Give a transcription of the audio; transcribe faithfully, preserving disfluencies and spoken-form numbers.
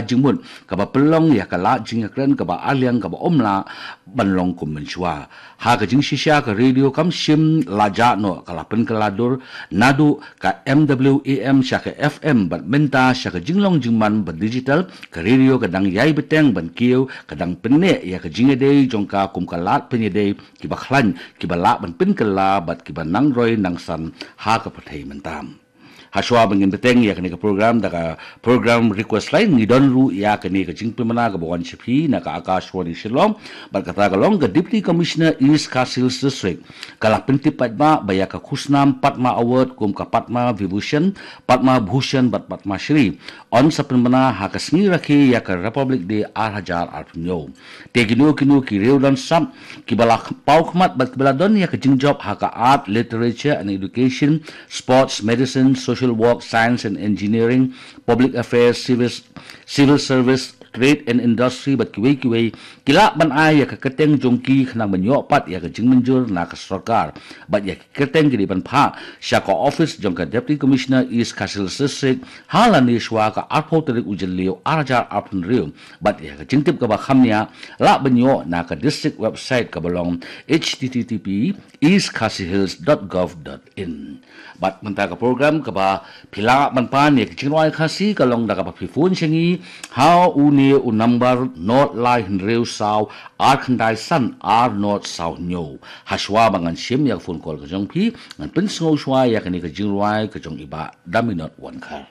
jingmut kaba pynlong ïa ka lad jingïakren kaba arliang kaba ym lah ban long kum mynshuwa. Ha ka jingshisha ka radio kam shym la jah noh, ka la pynkylla dur naduh ka M W A M sha ka F M bad mynta sha ka jinglong jingman ba digital, ka radio ka dang ïai bteng ban kiew, ka dang pynneh ïa ka jingïadei jong ka kum ka lad pynïadei kiba khlaiñ, kiba lah ban pynkylla bad kiba nang roi nang san ha ka pyrthei mynta. Hashwa ba ngin bteng ïa kane ka program da ka program request line, ngi don ruh ïa kane ka jingpynbna kaba wan sha phi na ka Akashvani Shillong. Bad kata ka long ka Deputy Commissioner East Khasi Hills District ka la pyntip paidbah ba ïa ka khusnam Padma Award kum ka Padma Vibhushan, Padma Bhushan bad Padma Shri yn sa pynbna ha ka sngi rakhe ïa ka Republic Day ar hajar arphew hynñiew. Te kino kino ki riew don sap kiba la paw khmat bad kiba la don ïa ka jingjop ha ka art, literature and education, sports, medicine, social work, science and engineering, public affairs, civil, civil service, trade and industry bad kiwei kiwei, ki lah ban ai ïa ka kyrteng jong ki khnang ban ïoh pat ïa ka jingmynjur na ka sorkar. Bad ïa ki kyrteng ki dei ban phah sha ka office jong ka Deputy Commissioner East Khasi Hills District ha lane shwa ka arphew tarik u Jylliew ar hajar arphew hynriew. Bad ïa ka jingtip kaba kham nia lah ban ïoh na ka district website kaba long H T T P east khasi hills dot gov dot in. Bad mynta ka program kaba phi lah ban pan ïa ka jingrwai Khasi ka long da kaba phi phone sha ngi ha une u number nod lai hynriew saw ar khyndai san ar nod saw hynñiew. Hashwa ba ngan shim ïa ka phone call ka jong phi, ngan pynsngew shwa ïa kane ka jingrwai ka jong i Bah Daminot Wankhar.